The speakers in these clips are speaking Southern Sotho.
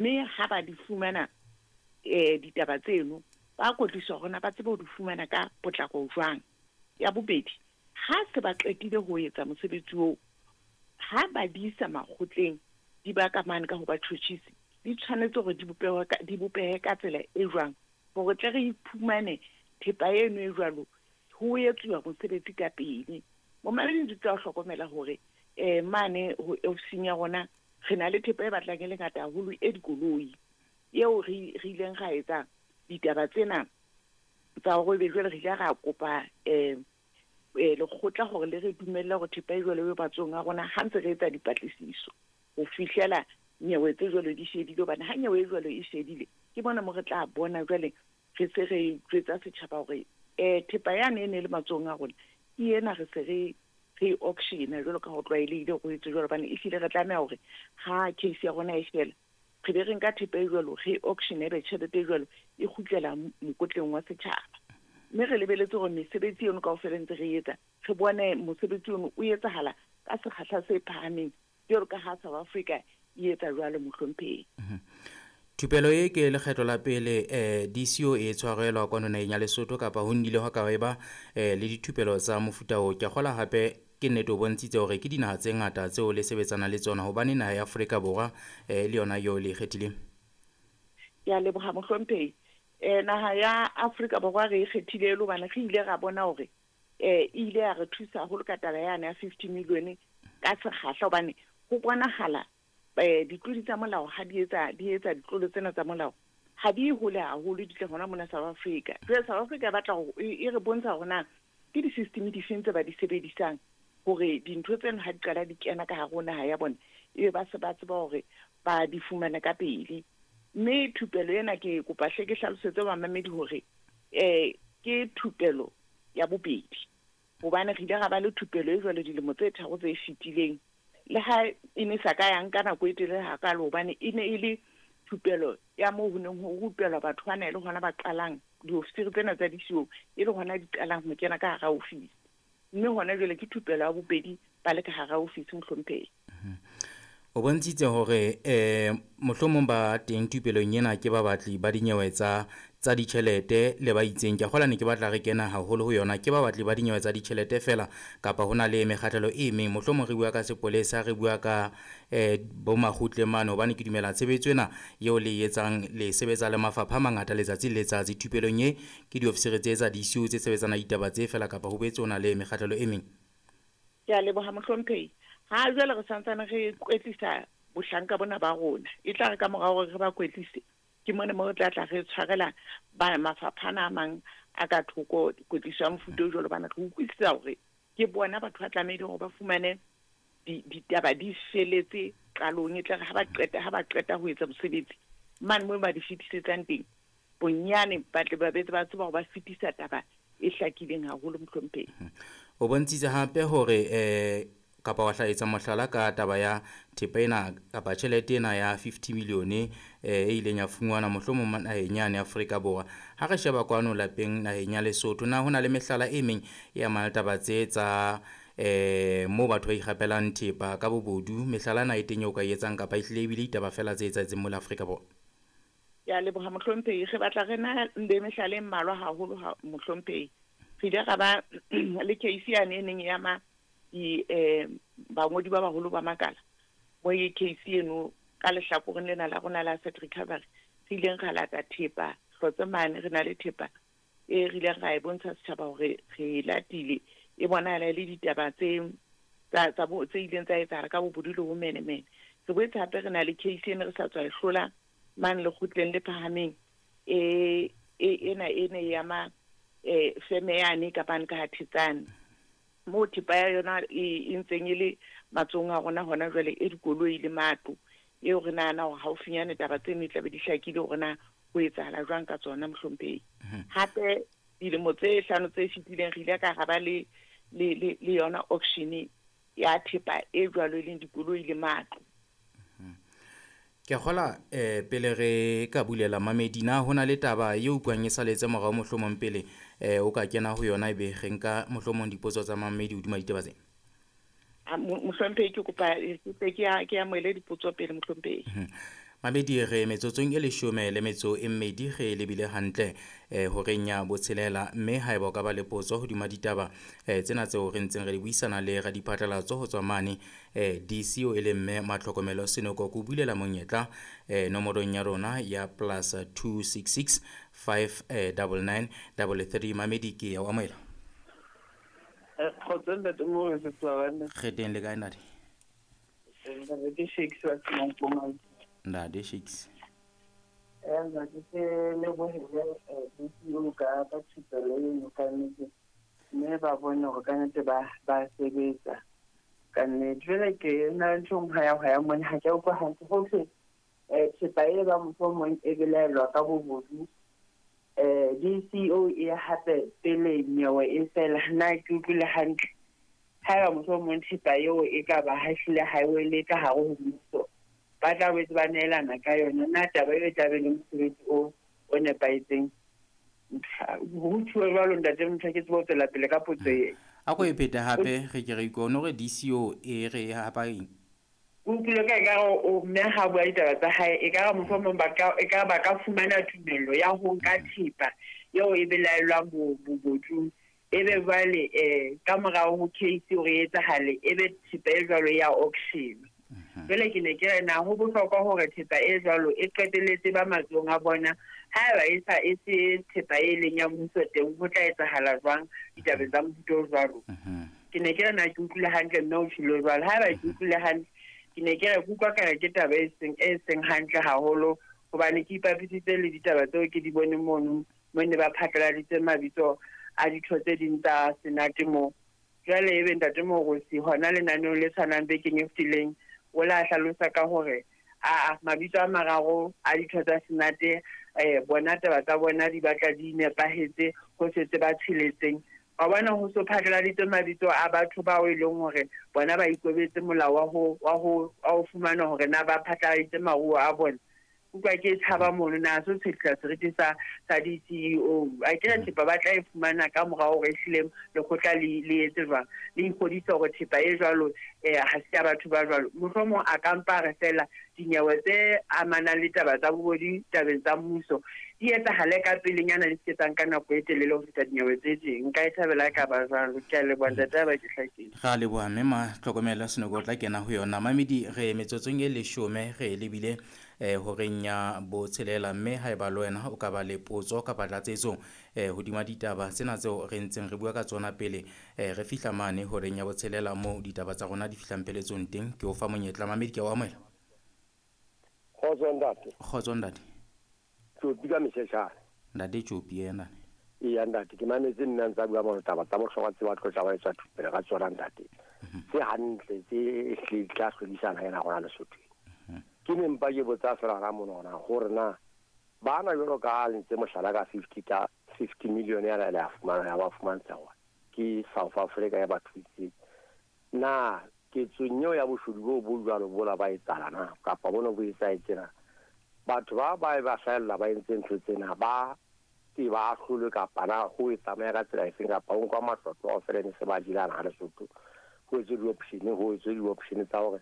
Mme ha ba di fumana ditaba tseno, ba kwetliswa hore na ba tsebe ho di fumana ka potlako jwang. Ya bobedi, ha se ba qetile ho etsa mosebetsi oo, ha ba di isa makgotleng, di ba ka mane ka ho batjhotjhisi, di tshwanetse hore di bopehe ka, di bopehe ka tsela e jwang hore tle re iphumane thepa eno e jwalo ho etsuwa mosebetsi ka pele. Momamedi, di tla hlokomela hore mane ho ofising ya rona re na le thepa e batlang e le ngata haholo e dikoloi, eo re ileng ra etsa ditaba tsena tsa hore ebe jwale re ile ra kopa lekgotla hore le re dumelle hore thepa e jwalo e matsohong a rona ha ntse re etsa dipatlisiso ho fihlela nyewe tse jwalo di shedile. Hobane ha nyewe e jwalo e shedile, ke bona mo re tla bona jwale re se re jwetsa setjhaba hore thepa yane e ne le matsohong a rona ke ena, re se re auctiona jwalo ka ho tlwaelehile ho etse jwalo. Hobane ehlile re tlameha hore ha case ya rona e fela, re be re nka thepa e jwalo, re auction, ebe tjhelete e jwalo e kgutlela mokotleng wa setjhaba. Mme re lebeletse hore mesebetsi eno kaofela ntse re etsa, re bone mosebetsi ono o etsahala ka sekgahla se phahameng jwalo ka ha South Africa e etsa jwalo, mohlomphehi. Thupelo e ke lekgetlo la pele DCO e tshwarelwa kwano naheng ya Lesotho, kapa ho nnile hwa ka eba le dithupelo tsa mofuta o? Ke a kgola hape ke nnete o bontshitse hore ke dinaha tse ngata tseo le sebetsana le tsona, hobane naha ya Afrika Borwa le yona eo le e kgethileng. Ke a leboha, mohlomphehi. Naha ya Afrika Borwa re e kgethile le hobane re ile ra bona hore e ile ya re thusa haholo ka taba yane ya 50 million ka sekgahla, hobane ho bonahala ditlodi tsa molao ha di etsa ditlolo tsena tsa molao ha di hole haholo, di tle hona mona South Africa. Jwale South Africa e batla hore e re bontsha hore na ke di-system difeng tse ba di sebedisang hore dintho tseno ha di qala di kena ka hare ho naha ya bona, ebe ba se ba tseba hore ba di fumane ka pele. Mme thupelo ena ke kopa hle ke hlalosetse bamamedi hore ke thupelo ya bobedi, hobane re ile ra ba le thupelo e jwalo dilemo tse 3 tse fetileng, le ha e ne sa ka ya nka nako e telele hakalo, hobane e ne e le thupelo ya moo ho neng ho rupelwa batho ba na le hona ba qalang diofisiri tsena tsa DCO, e le hona di qalang ho kena ka hara ofisi. Mme hona jwale ke thupelo ya bobedi ba le ka hara ofisi, mohlomphehi. O bontshitse hore mohlomong ba teng thupelong ena ke ba batli ba dinyewe tsa ditjhelete le ba itseng. Ke a kgola ne ke batla re kena haholo ho yona, ke ba batli ba dinyewe tsa ditjhelete fela kapa hona le mekgahlelo e meng? Mohlomong re bua ka sepolesa, re bua ka bo makgutle mane, hobane ke dumela tshebetso ena eo le e etsang le sebetsa le mafapha a mangata letsatsi le letsatsi. Thupelong e ke diofisiri tse tsa DCO tse sebetsana ditaba tse fela kapa ho boetse ho na le mekgahlelo e meng? Ke a leboha, mohlomphehi. Ha jwale re santsane re kwetlisa bohlanka bona ba rona, e tla re ka mora hore re ba kwetlise, ke mona mo re tla tla re tshwarela ba mafapha ana a mang a ka thoko kwetliso ya mofuta o jwalo, hobane re utlwisisa hore ke bona batho ba tlamehileng hore ba fumane ditaba di feletse qalong, e tla re ha ba qeta ho etsa mosebetsi mane moo ba di fetisetsang teng, bonyane ba tle ba betse ba tseba hore ba fetisa taba e hlakileng haholo, mohlomphehi. O bontshitse hape hore kapa wa hlaetsa mohlala ka taba ya thepa ena kapa tjhelete ena ya 50 million e ileng ya fungwana mohlomong naheng yane Afrika Borwa. Ha re sheba kwano lapeng naheng ya Lesotho, na hona le mehlala e meng e amang taba tse tsa moo batho ba ikgapelang thepa ka bobodu? Mehlala na e teng eo ka e etsang kapa ehlile ebile ditaba fela tse etsahetseng mole Afrika Borwa? Ke a leboha, mohlomphehi. Re batla re na le mehlala e mmalwa haholo, mohlomphehi. Re ile ra ba le case yane e neng e ama di bangodi ba baholo ba makala, mo e case eno ka lehlakoreng lena la rona la asset recovery, re ileng ra lata thepa hlotse mane, re na le thepa e re ileng ra e bontsha setjhaba hore re latile, e bonahala e le ditaba tse ileng tsa etsahala ka bobodu le ho menemene. Re boetse hape re na le case ene re sa tswa e hlola mane lekgotleng le phahameng, ena e ne e ama feme yane ka bane ka ha Thetsane, moo thepa ya yona e ntseng e le matsohong a rona hona jwale, e dikoloi le matlo, eo re nahana hore haufinyane taba tseno e tlabe di hlakile hore na ho etsahala jwang ka tsona, mohlomphehi. Hape dilemo tse 5 tse fetileng re ile ka ra ba le yona auction ya thepa e jwalo e leng dikoloi le matlo. Ke kgola pele re ka bulela mamedi, na hona le taba eo utlwang e saletse morao mohlomong pele o ka kena ho yona, ebe re nka mohlomong dipotso tsa mamedi hodima ditaba tsena? Mohlomphehi, ke kopa ke amohele dipotso pele, mohlomphehi. Mamedi re metsotsong e 12 re lebile hantle horeng ya botshelela, mme haeba o ka ba le potso hodima ditaba tsena tseo re ntseng re di buisana le radiphatlalatso ho tswa mane DCO e le mme Matlhokomelo Senoko, ke o bulela monyetla nomorong ya rona ya +266 599 33. Mamedi ke ya o amohela. Kgotso ntate Morese Tswana. Re teng le kae ntate? Ntate Shakes wa Senang. Ntate Shakes. Ntate ke lebohele DCO ka thupelo eno ka nnete, mme ba bone hore ka nnete ba sebetsa ka nnete. Jwale ke na le ntho e nngwe ya mona, ha ke a utlwa hantle ho thwe thepa e ba mohlomong e belaelwa ka bobodu, DCO e hape pele nyewe e fela. Na ke utlwile hantle? Haeba mohlomong thepa eo e ka ba ha ehlile ha e wele ka hare ho mmuso, ba tla boetse ba neelana ka yona. Na taba eo e tla be le mosebetsi o nepahetseng? Ho thuwe jwalo ntate motho, ke tsebe ho tswela pele ka potso e. A ko e phete hape re ke re ikone hore DCO e re hapa eng? O utlwile ka ekare o mme ha bua ditaba tsa hae, ekare mohlomong ba ka fumana tumello ya ho nka thepa eo e belaellwang bobodung, ebe jwale ka morao ho case hore e etsahale, ebe thepa e jwalo ya auction. Jwale ke ne ke re na ho bohlokwa hore thepa e jwalo e qetelletse ba matsohong a bona. Haeba e sa e se thepa e leng ya mmuso teng, ho tla etsahala jwang ditabeng tsa mofuta o jwalo? Ke ne ke re na ke utlwile hantle mme o tjhilo jwalo. Haeba ke utlwile hantle, ke ne ke re kutlwa ka re ke taba e seng hantle haholo, hobane ke ipapisitse le ditaba tseo ke di bone mono mo ne ba phatlaladitse mabitso a ditho tse ding tsa Senate moo. Jwale ebe ntate Morosi hona lenaneong le tshwanang bekeng e fetileng o la hlalosa ka hore a mabitso a mararo a ditho tsa Senate, bona taba tsa bona di batla di nepahetse ho setse ba tsheletseng. Wa bona ho so phatlaladitse mabitso a batho bao e leng hore bona ba ikobetse molao wa ho fumana hore na ba phatlaladitse maruo a bona. Utlwa ke tshaba mono na so tshetla seriti sa DCO. A ke re thepa ba tla e fumana ka morao hore ehlile lekgotla le etse jwang, le ikgodise hore thepa e jwalo ha se ya batho ba jwalo. Mohlomong a ka mpa re fela dinyewe tse amanang le taba tsa bobodi tabeng tsa mmuso di etsahale ka pelenyana, di se ka nako e telele ho feta dinyewe tse ding. Nka e thabela ka ba jwalo. Ke a leboha ntate, ba ke hlakile. Ra leboha mme Matlhokomelo Senoko o tla kena ho yona. Mamedi re metsotsong e 10 re lebile horeng ya botshelela, mme haeba le wena o ka ba le potso kapa tlatsetso hodima ditaba tsena tseo re ntseng re bua ka tsona pele re fihla mane horeng ya botshelela moo ditaba tsa rona di fihlang peletsong teng, ke o fa monyetla. Mamedi ke a o amohela. Kgotso ntate. Kgotso ntate. Tjopi ka mesheshane. Ntate Tjopi yena. Eya ntate, ke mametse nna ntsa bua mo taba tsa bohlokwa tse ba tlotla ba etsa thupelo ka tsona ntate. Tse hantle tse ehlile di tla hlodisana ena rona Lesotho. Ke ne mpa ke botsa fela ra monona hore na bana jwalo ka ntse mohlala ka 50 million ya la fumana ya ba fumantsha hore ke South Africa ya batho itse. Na ketsong eo ya boshodu bo jwalo bola ba etsala na kapa bona bo etsaetse na? Batho ba ba hlahella ba entse ntho tsena ba ke ba ahlolwe kapa na ho e tsamaya ka tsela efeng, kapa ho nkwa matlotlo kaofela ne se ba jelana ha Lesotho, ho etswe di-option tsa hore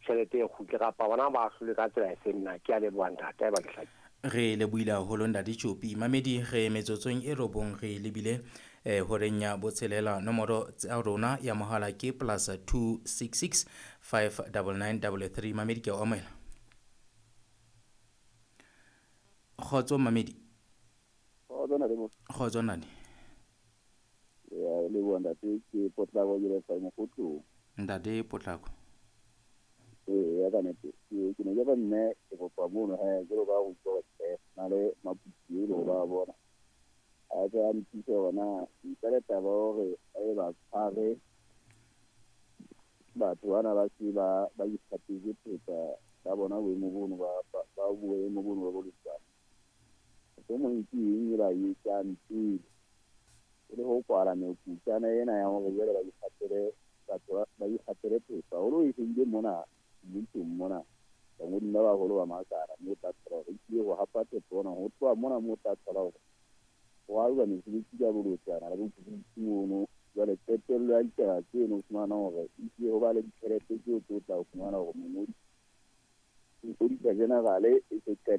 tjhelete e kgutle, kapa bona ba ahlolwe ka tsela efeng na? Ke a leboha ntate, ba ke hlakile. Re lebohile haholo ntate Tjopi. Mamedi re metsotsong e 9 re lebile horeng ya botshelela. Nomoro tsa rona ya mohala ke +266 599 33. Mamedi ke a o amohela. Kgotso Mamedi. Kgotso ntate. Kgotso ntate. Ya leboha ntate, ke Potlako ke le fa Mokgotlong. Ntate Potlako. Ya ka nnete ke ne ke ba mme ke kopa mono he jwalo ka ho utlwa na le maputsi e le ho ba bona a tla nthuse hona ntle le taba hore e ba tshware batho bana ba se ba ikgapetse thepa ba bona boemo bono ba boemo bono ba boletsana. Mohlomong ke eng e ba etsang pele e le ho kwala mekutlana ena ya hore jwale ba ikgapele batho ba ikgapele thepa hore e shebile mona mmusong mona bangodi ba baholo ba makala moo tla thola hore ehlile ho hapa thepa ona ho tloha mona moo tla thola hore ho alwa mesebetsi ka bolotsana le bokubutsi mono. Jwale qetello ya ditaba tseno o fumana hore ehlile ho ba le ditjhelete tseo tse o tla fumana hore mongodi Auditor General e se qeta.